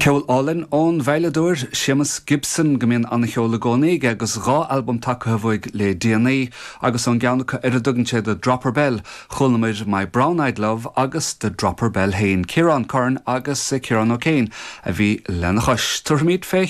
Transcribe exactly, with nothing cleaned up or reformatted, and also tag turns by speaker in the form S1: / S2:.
S1: Ceol álainn ón veidhleadóir Séamus Gibson go mbíonn an-cheol i gcónaí aige agus dhá albam tagtha uaidh le déanaí agus ón gceann acu ar a dtugann sé The Dropper Bell chualamar My Brown Eyed Love agus The Dropper Bell féin Ciarán Curran agus Ciarán O'Kane a bhí lena chois. Tabharfaimid fé